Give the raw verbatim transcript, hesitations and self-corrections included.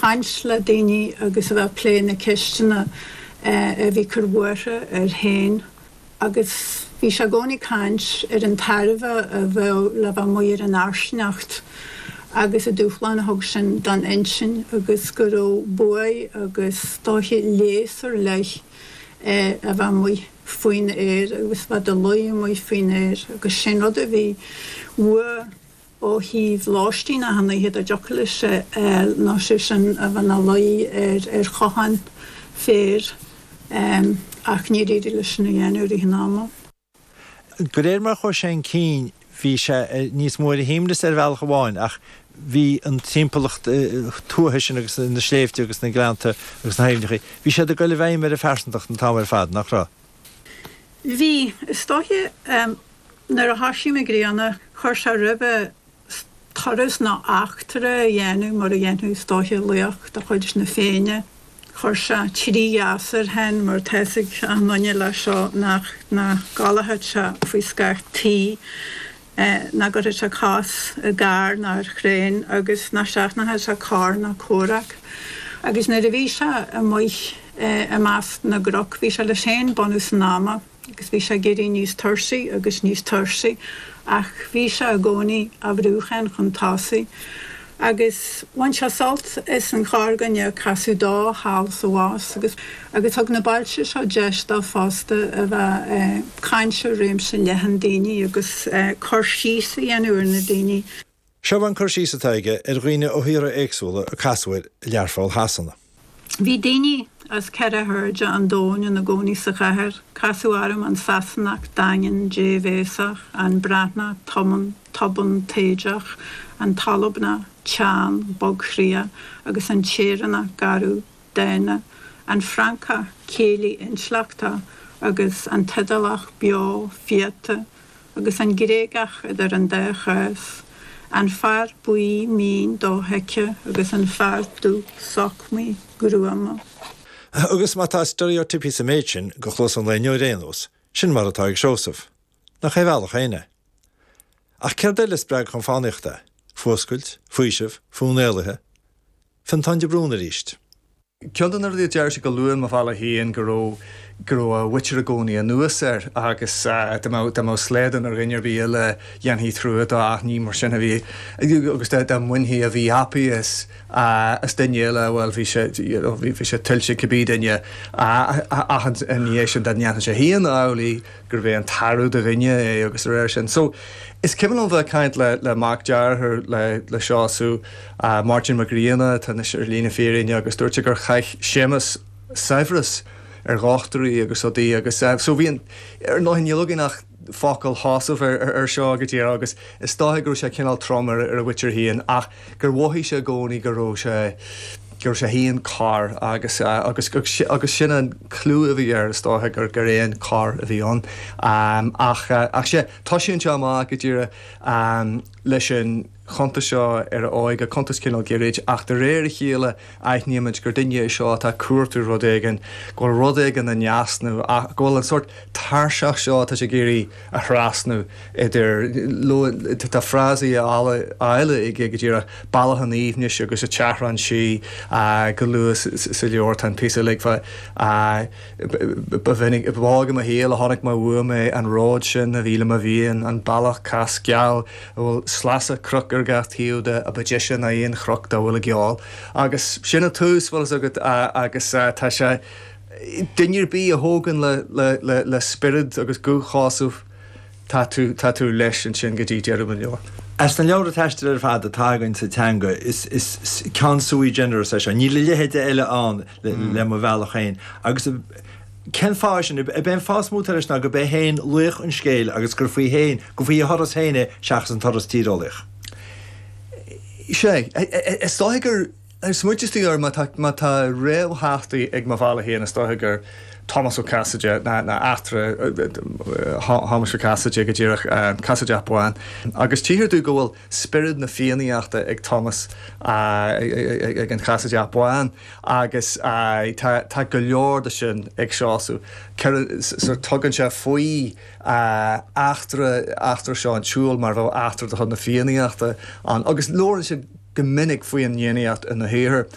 caint le daoine agus a bheith ag plé na ceisteanna a bhí ag cur buartha air féin agus bhí sé i gcónaí ag caint ar an tairbhe a bheadh le bheith amuigh ar an fhairsingeacht agus an dúshlán a thug sin don intinn agus go raibh buaidh agus is dóiche léas ar leith a bheith amuigh faoin aer agus bheith i do luí amuigh faoin aer agus sin rud a bhí uaidh ó thaobh lóistín achan oíche dá dtiocfadh leis é a fháil ná sé sin a bheith ina luí ar ar chochán féir ach níor éirigh leis sin a dhéanamh i rith an ama. De réir mar a chuaigh sé chun cinn bhí sé níos mó ar a shuaimhneas ar bhealach amháin ach bhí an timpeallacht tuaithe sin agus na sléibhte agus na gleannta agus na haibhneacha, bhí siad ag dul i bhfeidhm ar a phearsantacht an t-am ar fad, nach raibh? Bhí. Is dóiche, nuair a thoisigh Mac Grianna, chuir sé roimhe turas nó eachtra a dhéanamh mar a dhéanfadh is dóiche laoch de chuid na Féinne. Chuir sé trí gheasa air féin mar tá fhios ag achan nduine leis seo nach nach gcodlódh sé faoi scáth tí, nach gcuirfeadh sé cos i gcarr ná ar thraein agus nach seachnódh sé cor ná comhrac. Agus nuair a bhí sé amuigh i measc na gcnoc bhí sé leis féin bunús an ama agus bhí sé ag éirí níos tuirsigh agus níos tuirsigh ach bhí sé i gcónaí á bhrúchan chun tosaigh agus bhain sé sult as an chorrdhuine a casadh dó thall is abhus agus agus thug na bailte seo deis dó fosta a bheith ag caint le réimse leathan daoine agus cur síos a dhéanamh ar na daoine. Seo an cur síos atá aige ar dhaoine ó thíortha éagsúla a casadh air i Learpholl Shasana. Bhí daoine as ceithre hairde an domhain ina gcónaí sa chathair. Casadh orm an Sasanach daingean débhéasach, an Breatnach tobann, tobann taoideach, an tAlbanach teann bogchroíoch agus an tÉireannach garbh dána, an Francach céillí intleachtach agus an tIodálach beo fiata, agus an Gréagach idir an dá chás, an fear buí mín dofheicthe agus an fear dubh socmaí gruama. Agus má tá steiréitíopaí sa méid sin go chluas an lae inniu ar aon nós, sin mar atá ag Seosamh. Nach é a bhealach féin é? Ach céard eile a spreag chun fánaíochta é? Fuascailt? Faoiseamh? Fonn éalaithe? Fionntán de Brún arís. Ceann de na rudaí a deir sé go luath in Mo Bhealach Féin go raibh go raibh a mhuintir i gcónaí anuas air agus dá mbeadh dá mbeadh slaghdán ar dhuine ar bith eile dhéanfaí trua dó ach ní mar sin a bhí agus dá dá mbainfí a mhíthapaí as as duine eile bhuel bhí sé you know bhí sé tuillte cibé duine ach ina dhiaidh sin dá ndéanfadh sé féin amhlaidh gurbh é an tarbh de dhuine é agus de réir sin. So is cuimhin liom bheith ag caint le le mac dearthár le le Seosamh, Máirtín Mac Grianna atá anois ar shlí na fírinne agus dúirt sé gur chaith Séamus saibhreas ar dhochtúirí agus rudaí agus so bhí an ar ndóigh níl againn ach focail Sheosaimh ar ar seo go díreach agus is dóiche go raibh sé cineál trom ar ar a mhuintir féin ach gur mhothaigh sé i gcónaí go raibh sé go raibh sé féin corr agus agus agus sin an clú a bhí air is dóiche gur gur éan corr a bhí ann. Ach ach sea toisíonn sé amach go díreach leis an chuntas seo ar a óige, cuntas cineál gairid, ach de réir a chéile aithnímid gur duine é seo atá ag cuartú rud éigin, go bhfuil rud éigin in easnamh ach go bhfuil an sórt tairseach seo atá sé ag iarraidh a thrasnú idir, tá frásaí áille aige go díreach, bealach an aoibhnis agus an tseachrán sí go luath sa leabhar, tá an píosa uilig fá ba mhinic, ba óg i mo shaol a chonaic mé uaim é, an ród sin a bhí le mo mhian, an bealach cas geal a bhfuil sleasa cnoc ar gach taobh de a ba deise ná aon chnoc dá bhfuil i gceol. Agus sin an tús, bhfuil fhios agat, agus tá sé, duine ar bith a thógann le, le, le, le spiorad agus guth Sheosaimh, tá tú, tá tú leis ansin go dtí deireadh an leabhair. As na leabhra taistil ar fad atá againn sa teanga, is, is ceann sui generis é seo. Níl a leithéid eile ann le, le Mo Bhealach Féin. Agus cén fáth sin? Ab é an fáth is mó atá leis ná gurb é féin laoch an scéil agus gur faoi féin, gur faoi a thuras féin é seachas an turas tíreolaíoch. Sea, is dóiche gur smaointíos tú air má tá, má tá réamhtheachtaí ag Mo Bhealach Féin is dóiche gur Tomás Ó Casaide ná, ná eachtra Thomáis Ó Casaide go díreach, An Casaideach Bán. Agus tchíthear dúinn go bhfuil spiorad na Fiannaíochta ag Tomás, ag an Chasaideach Bán agus tá, tá go leor de sin ag Seosamh. Cuireann, tugann sé faoi eachtra, eachtra seo an tsiúil mar bheadh eachtra de chuid na Fiannaíochta ann agus labhrann sé go minic faoin bhFiannaíocht ina shaothar.